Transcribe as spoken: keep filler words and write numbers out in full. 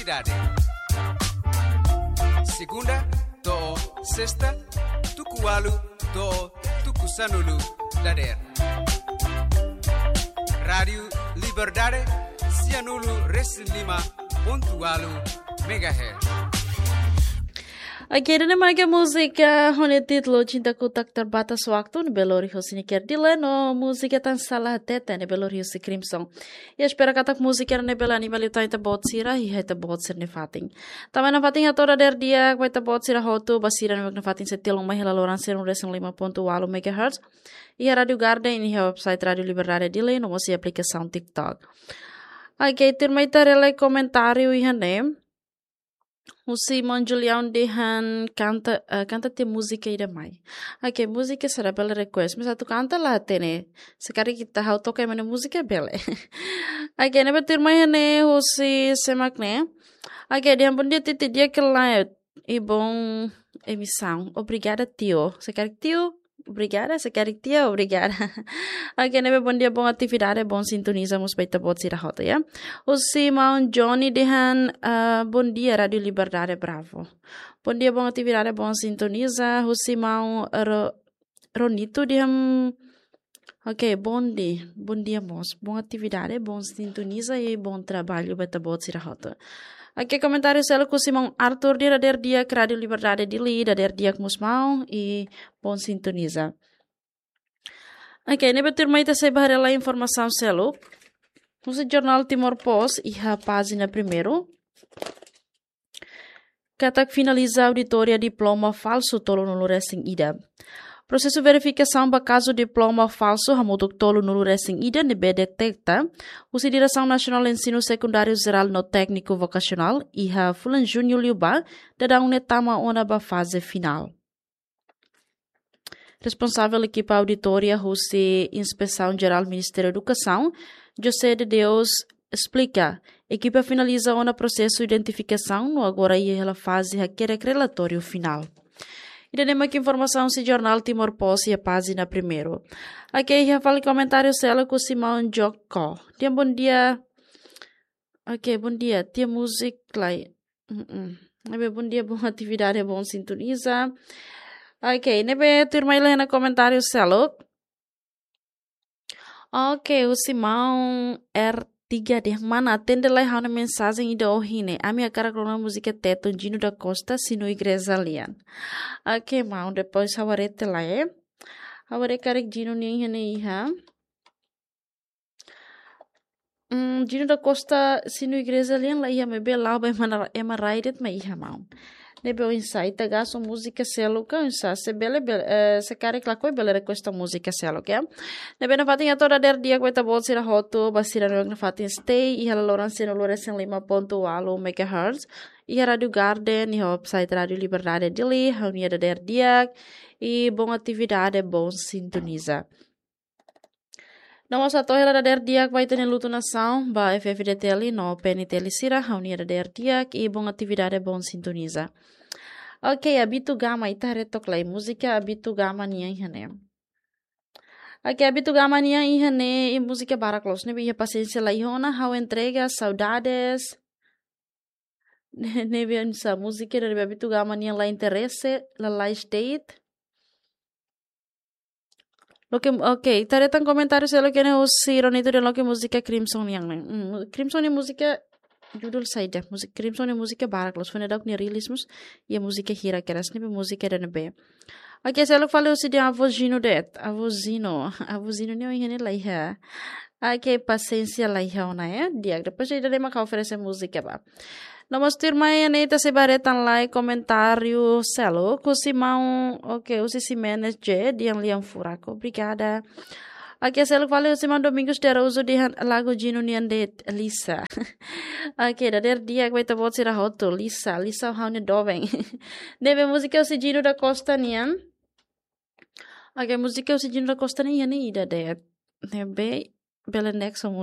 Liberdade. Segunda to'o sesta, tuku ualu to'o tuku sanulu dadeer. Rádiu Liberdade, sianulu resin lima pontu ualu megahertz. Oke, ida-ne'e mak múzika ho nia títulu Cintaku Tak Terbatas Waktu, ne'ebé lori husi Niker Dile, no múzika Tan Sala Hatete, ne'ebé lori husi Crimson. I espera katak múzika ne'e bele anima liután ita-boot sira, i ita-boot sira-nia fatin. Tanba ne'e fatin hato'o dadeer di'ak ba ita-boot sira hotu, ba sira ne'ebé nafatin sei tilun mai hela loron sanulu resin lima pontu ualu megahertz. Iha Rádiu Garden, iha website Rádiu Liberdade Dili, no mós iha aplikasaun TikTok. Oke, tuirmai ita haree lai komentáriu iha ne'e. Husi maun Julião dehan kanta, eh, kanta tiha múzika ida mai. Oke, múzika sira bele request. Mas atu kanta la hatene. Se karik ita ha'u toka ema nia múzika bele. Oke, ne'ebé tuirmai iha ne'e husi sé mak ne'e. Oke, dehan bondia Titi, di'ak ka lae. I bom emisaun. Obrigada, tio. Se karik tio, obrigada. Se karik tia, obrigada. Oke, ne'ebé bondia, bom atividade, bom sintoniza mós ba ita-boot sira hotu, ya. Husi maun Johnny dehan, ah, bondia Rádiu Liberdade, bravo. Bondia, bom atividade, bom sintoniza. Husi maun Ro-, Ronito dehan, oke, bondia, bondia mós. Bom atividade, bom sintoniza i bom trabalho ba ita-boot sira hotu. Oke, komentáriu seluk husi maun Arthur dehan dadeer di'ak Rádiu Liberdade Dili, dadeer di'ak mós maun, i bom sintoniza. Oke, ne'ebé tuirmai ita sei bá haree lai informasaun seluk. Husi jornál Timor Post, iha pájina primeiru. Katak finaliza auditoria diploma falsu tolunulu resin ida. Prosesu verifikasaun ba kazu diploma falsu hamutuk tolunulu resin ida ne'ebé deteta husi Diresaun Nasionál Ensinu Sekundáriu Jerál no Tékniku Vokasionál iha fulan Juñu liubá daudaun ne'e tama ona ba faze finál. Responsavel ekipa auditoria husi Inspesaun Jerál Ministériu Edukasaun, José de Deus, esplika, ekipa finaliza ona prosesu identifikasaun no agora iha hela faze hakerek relatóriu finál. Ida-ne'e mak informasaun husi jornál Timor Post iha pájina primeiru. Oke, iha fali komentáriu seluk husi maun Joko. Dehan bondia. Oke, bondia. Tiha múzika lai. Mm-mm. Ne'ebé bondia, bom atividade, bom sintoniza. Oke, ne'ebé tuirmai lai ona komentáriu seluk. Oke, husi maun R tiga dehan mana, atende lai ha'u-nia mensajen ida ohin ne'e. Ami hakarak rona múzika Tetun, Gino da Costa, Sinu Igreja Lian. Oke, maun, depois ha'u haree tiha lai, eh. Ha'u haree karik Gino nian iha ne'e iha. Hmm, Gino da Costa, Sinu Igreja Lian la iha, maibé la'o ba ema na-, ema rai de'it mak iha, maun. Ne'ebé oinsá, ita gasta múzika seluk ka oinsá, se bele, bele, eh, se karik lakohi bele request múzika seluk, ya. Ne'ebé nafatin hato'o dadeer di'ak ba ita-boot sira hotu, ba sira ne'ebé nafatin stay iha laloran sanulu resin lima pontu ualu megahertz, iha Rádiu Garden, iha website Rádiu Liberdade Dili, ha'u-nia dadeer di'ak, i bom atividade, bom sintoniza. No mós hato'o hela dadeer di'ak ba ita-nia lutu nasaun, ba F F D T L no P N T L sira, ha'u-nia dadeer di'ak, i bom atividade, bom sintoniza. Oke, Abitu Gama, ita haree took lai múzika Abitu Gama nian iha ne'e. Oke, Abitu Gama nian iha ne'e, i múzika barak loos, ne'ebé iha Pasiénsia la iha ona, Ha'u Entrega, Saudades. Ne-, ne'ebé oinsá múzika ida ne'ebé Abitu Gama nian la interese, la, la state. Loke, oke, ita haree tan komentáriu seluk iha ne'e husi Ronito dehan loke múzika Crimson nian ne'e. Hmm, Crimson nia múzika judul saida? Múzika Crimson nia múzika barak loos, foin daudauk nia release mós, iha múzika hira kedas, ne'ebé múzika ida ne'ebé. Oke, seluk fali husi dehan Avó Gino de'it. Avó Gino. Avó Gino nian iha ne'e la iha. Oke, Pasiénsia la iha ona, ya. Di'ak, depois ida-ne'e mak ha'u oferese múzika ba. No mós tuirmai iha ne'e ita sei bá haree tan lai komentáriu seluk husi maun, oke, husi Ximenes J, dehan lian furak. Obrigada. Oke, seluk fali husi maun Domingos de Araújo dehan lagu Gino nian de'it, Lisa. Oke, dadeer di'ak ba ita-boot sira hotu, Lisa, Lisa ha'u-nia doben. Ne'ebé múzika husi Gino da Costa nian. Oke, múzika husi Gino da Costa nian iha ne'e ida de'it. Ne'ebé bele next